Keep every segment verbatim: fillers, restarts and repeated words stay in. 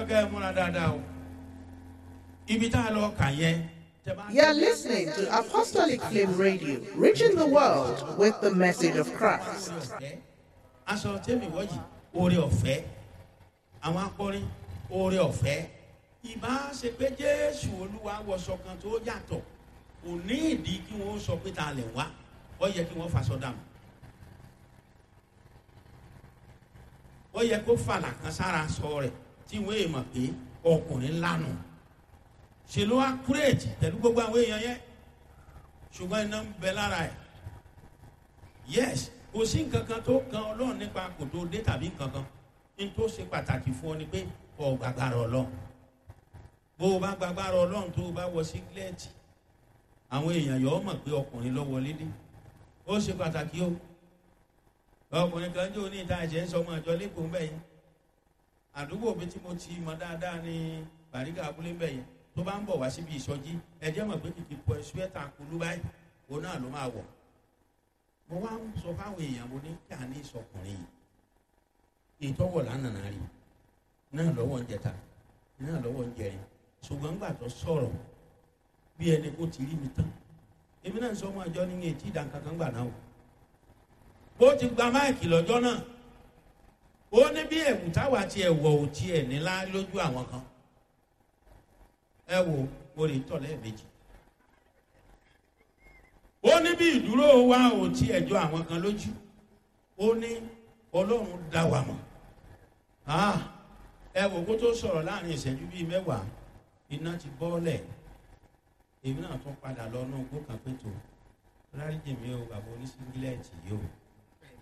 kẹ́ ẹ múra dáadáa o. Ibi tá a lọ kà yẹn. Tẹ́ bá- You're listening to Apostolic Flame Radio, reaching the world with the message of Christ. Oore ọ̀fẹ́. Aṣọ tẹ́mi wọ́jì, oore ọ̀fẹ́. Àwọn akọrin, oore ọ̀fẹ́. Ìbá ṣe pé Jésù Olúwa wọṣọ kan tó yàtọ̀, kò ní ìdí kí wọ́n sọ pé ta lẹ̀ wá. Ó yẹ kí wọ́n faṣọ dànù. Ó yẹ kó fàlà kan sára sọ rẹ̀ tí wọ́n èèmọ̀ pé ọkùnrin ńlá nù. Ṣe ló wá kúrèjì pẹ̀lú gbogbo àwọn èèyàn yẹn, ṣùgbọ́n iná ń bẹ lára ẹ̀. Yes, kò sí nǹkan kan tó kan Ọlọ́run nípa kò tó dé tàbí nǹkan kan. Ní tó ṣe pàtàkì fún ọ ni pé ọ gbàgbára Ọlọ́run. Bó o bá gbàgbára Ọlọ́run, tó o bá wọ sígílẹ́ẹ̀tì, àwọn èèyàn yọ̀ ọ́ mọ̀ pé ọkùnrin ló wọlé dé. Ó ṣe pàtàkì o. Ọkùnrin kan jó ní ìta ẹ̀jẹ̀ ń sọ ọmọ àjọ lẹ́kọ̀ọ́ ń bẹ̀ yẹn. Àdúgbò mi tí mo ti mọ dáadáa ní Bàrígà abúlé ń bẹ̀ yẹn, tó bá ń bọ̀ wá síbi ìsọjí, ẹ̀jẹ̀ mọ̀ pé kìkì pọ̀ ṣúẹ́tà kulú báyìí òun náà ló máa wọ̀. Mo wá ń sọ fáwọn èèyàn, mo ní kí a ní ìsọkùnrin yìí ìtọ́wọ̀ lánàá rí náà lọ́wọ́ ń jẹta náà lọ́wọ́ ń jẹrin. Ṣùgbọ́n gbà tó sọ̀rọ̀ bí ẹni kó ti rí mi tán, èmi náà ń sọ ọmọ àjọ ní etí ìdánkankan gbà náà o. Bó ti gba máìkì lọ́jọ́ náà, ó ní bí ẹ̀wù táwa ti ẹ̀wọ̀ ò tiẹ̀ nílá lójú àwọn kan. Ẹ wo, mo lè tọ̀ lẹ́ẹ̀mejì. Ó ní bí ìdúró wa ò tí ẹjọ́ àwọn kan lójú. Ó ní Ọlọ́run dá wa mọ̀. Ah, ẹ wò kó tó sọ̀rọ̀ láàrin ìṣẹ́jú bíi mẹ́wàá, iná ti bọ́ọ̀lẹ̀. Èmi náà tún padà lọ náà gbó kan pé tó dáríjì mi o, bàbá oníṣíngílẹ̀tì yìí o,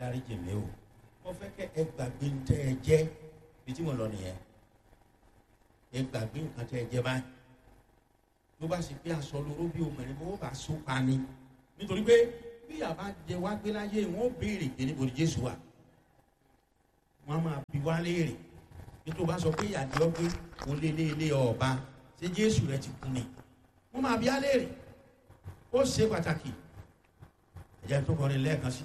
dáríjì mi o. Mo fẹ́ kẹ́ ẹ gbàgbé ń tẹ́ ẹ jẹ́ bí tí mo lọ nìyẹn. Ẹ gbàgbé nǹkan tẹ́ ẹ jẹ́ báyìí. Ló bá sì pé aṣọ lóró bí obìnrin bó bá so pa ni, nítorí pé bí àbá jẹ wá gbé láyé, wọn ó béèrè pé níbo ni Jésù wà. Wọn á máa bi wá léèrè. Nítorí bá sọ pé ìyàdí ọgbẹ oléléèlé ọba, ṣé Jésù rẹ ti kú ni? Wọn máa bi á léèrè. Ó ṣe pàtàkì. Ẹ̀jẹ̀ tó kọrin lẹ́ẹ̀kan sí.